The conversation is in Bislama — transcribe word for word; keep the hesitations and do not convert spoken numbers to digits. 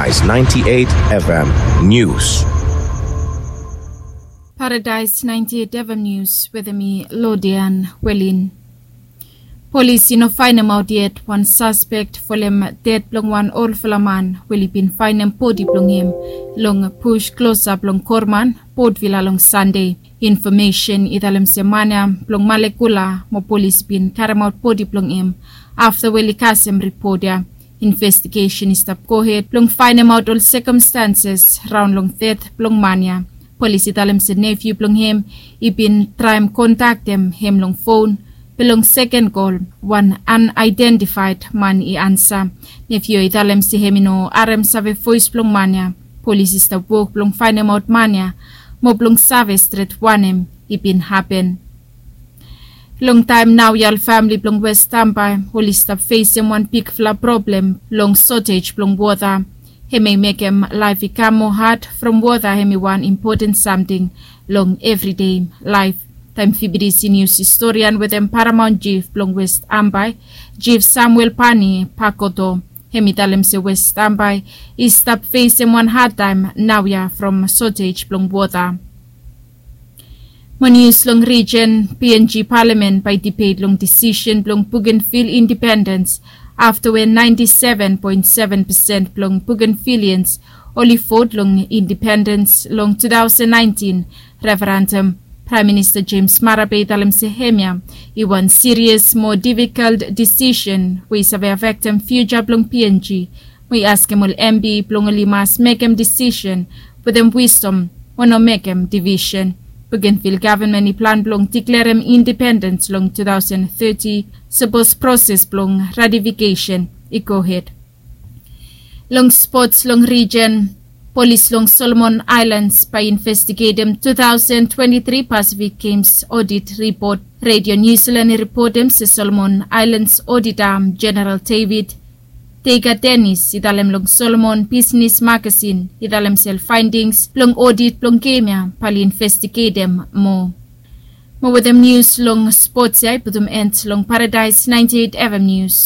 Paradise ninety-eight F M News. Paradise ninety-eight F M News wetem mi Lodian Welin. Polis i no faenemaot yet wan saspek folem ded blong wan olfala man we oli bin faenem bodi blong hem long bush klosap long Korman, Potvila long Sande. Infomesen i talem se man ya blong Malekula mo polis i bin karemaot bodi blong hem afta we oli kasem ripot ya. Investigesen i stap gohed blong faenemaot ol sekamstanses raon long ded blong man ya. Polis i talem se nefiu blong hem i bin traem kontaktem hem long fon, be long seken kol wan anaedentifaed man i ansa. Nefiu i talem se hem i no harem save voes blong man ya. Polis i stap wok blong faenemaot man ya mo blong save stret wanem i bin hapen. Longtaem naoia ol famili blong West Ambae oli stap fesem wan bigfala problem long sotej blong wota. Hem i mekem laef i kam moa had from wota hem i wan impoten samting long evridei laef. Taem V B D C nius historian wetem paramaon jif blong West Ambae, Jif Samuel Pani Pakoto, hem i talem se West Ambae i stap fesem wan hadtaem naoia from sotej blong wota. Mo nius long rijen, P N G palamen bae i dibet long disisen blong Bougainville indipendens afta we naenti seven poen seven pesen blong Bougainvilleans oli vot long indipendens long two thousand nineteen referendum. Praem Minista James Marape i talem se hemia i wan sirias mo difikol disisen we i save afektem fiuja blong P N G. We i askem ol M P blong oli mas mekem disisen wetem wisdom mo no mekem divisen. Bougainville gavenmen i plan blong diklerem indipendens long two thousand thirty sapos proses blong ratifikesen i gohed. Long spots long rijen, polis long Solomon Aelans bae i investigetem two thousand twenty-three Pacific Games odit ripot. Redio Niu Silan i ripotem se Solomon Aelans odita Jeneral David Teiga Denis i talem long Solomon Bisnis Magasin i talem se ol faendings blong odit blong gem ya bae oli investigetem moa. Mo wetem nius long spots ya i putum en long Paradaes naenti eit F M nius.